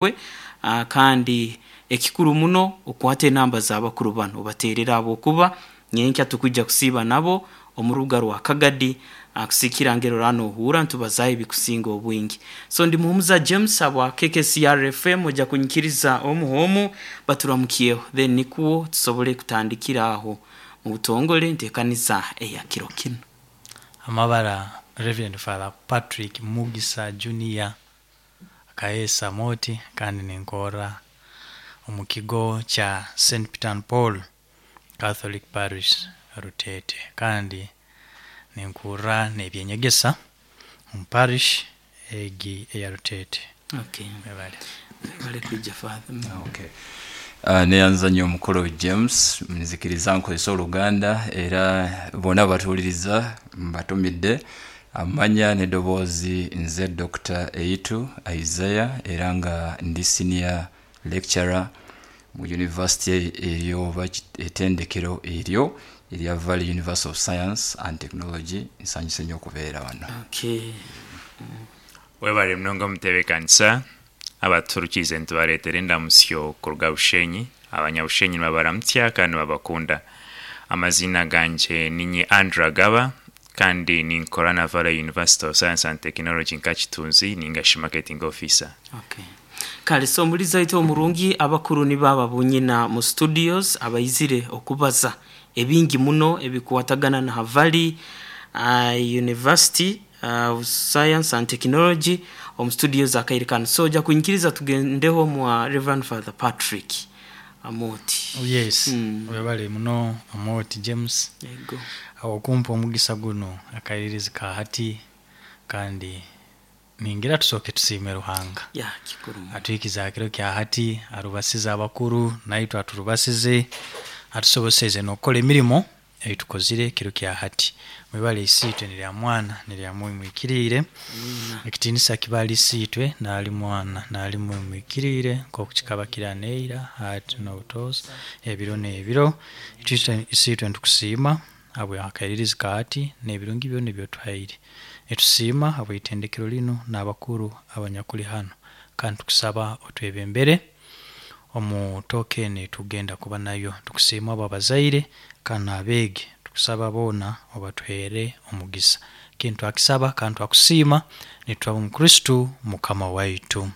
We kandi ekikuru muno okwate enamba z'abakuru banu obateerere ahabw'okuba nyenkya tukwija kusiiba nabo omu rubuga rwa Kagadi kusiikira ngeri oraba nohuura nitubazaaho ebikusinga obwingi. So ndi Muhumuza James habwa KKCR FM oja kunyikiriza omu h'omu baturamukyeho then nikwo tusobole kutandikira aho mu butongole enteekaniza eya kiro kinu. Amabara Rev Father Patrick Mugisa Junior Kaheesa Moti kandi ninkorra omu kigo kya Saint Peter and Paul Catholic Parish Ruteete kandi ninkurra n'eby'enyegesa omu parish egi eya Ruteete. Okay. Mwebale. Mwebale kwija Father. Okay. Neyanza nyo mukulu James, nzikiriza nkozese oluganda era bona abatuwuliriza mbatumidde. Amanya n'edoboozi nze Dokita Eitu Isaiah era nga ndi Senior Lecturer mu University eyo oba eitendekero eryo erya Valley University of Science and Technology. Nsanyuse inho okubeera ghano. Okay. Webale munonga omutebekanisa, abatuhurikiize nitubareetera endamutsyo kuruga Bushenyi. Abanyabushenyi nibabaramutsya kandi nibabakunda. Amaziina gangye ninye Andrew Agaba kandi ninkora na Valley University of Science and Technology nka kitunzi ninga shi marketing officer. Okay. Kale so omulizi waitu omurungi, abakuru nibo aba bonyina mu studios abaizire okubaza ebingi muno ebikwatagana na Valley University of Science and Technology omu studios akaire kanu. So oja kunyikiriza tugendeho mwa Rev Father Patrick Amooti. Yes, webale muno Amooti James Ego. okumpa omugisa gunu akairirizi ka hati kandi ningira tusooke tusiime Ruhanga. Ya kikuru muno. Atuhikize aha kiro kya hati, arubasize abakuru naitwe aturubasize, atusoboseize n'okukora emirimo ei tukozire ekiro kya hati. Mwebale Isiitwe n'erya Mwana n'erya Mwoyo Muhikiriire. Amiina. Ekitiinisa kibe ahari Isiitwe n'ahari Mwana n'ahari Mwoyo Muhikiriire, nk'oku kikaba kiri haneira, hati n'obutoosa, ebiro n'ebiro. Itwe Isiitwe nitukusiima ahabw'akairirizi ka hati n'ebirungi byona ebi otuhaire. Nitusiima ahabw'eitendekero linu n'abakuru abanyakuri hanu. Kandi tukusaba otwebembere omu tooka enu ei tukugenda kuba nayo. Tukusiima ahabw'abazaire kandi n'abeegi. Tukusaba boona obatuheere omugisa. Kinu twakisaba kandi twakusiima nitutwaba omu Kristo Mukama waitu.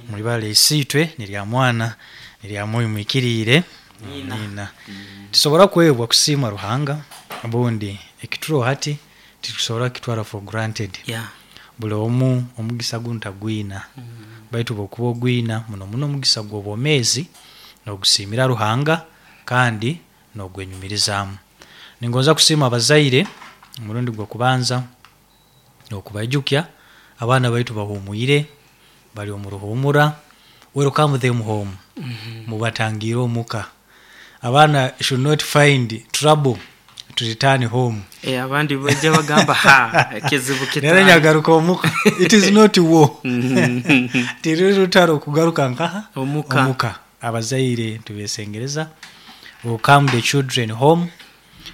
Mwibale Isiitwe n'erya Mwana n'erya Mwoyo Muhikiriire. Amiina. Titusobora kwebwa kusiima Ruhanga obundi ekituroho hati titusobora kukitwara for granted. Yeah. Buli omu omugisa gunu tagwina baitu obwokuba ogwina muno muno omugisa gw'obwomeezi nogusiimira Ruhanga kandi nogwenyumirizaamu. Ningonza kusiima abazaire omurundi gw'okubanza n'okubaijukya abaana baitu bahuumwire bari omu ruhuumura, welcome them home, mubatangiire omuka. Abaana should not find trouble to return home. Eh, abandi baija bagamba ha ekizibu Reero kitaaha. nyagaruka omuka. It is not war. Tiruri rutaro kugaruka nkaha? Omuka. Omuka. Abazaire nitubesengereza welcome the children home,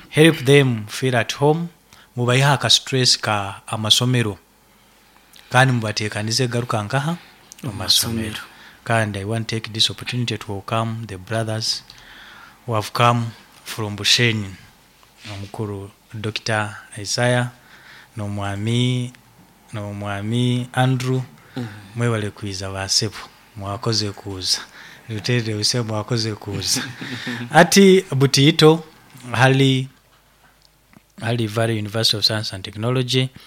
help them feel at home, mubaiheho aka stress ka amasomero kandi mubatekanize kugaruka nkaha? Omu masomero. Kandi I want take this opportunity to welcome the brothers who have come from Bushenyi, omukuru Dokita Isaiah n'omwami n'omwami Andrew, mwebale kwiza ba sebo, mwakoze kuuza. Ruteerire buse mwakoze kuuza. Ati Butiito hali hali Valley University of Science and Technology.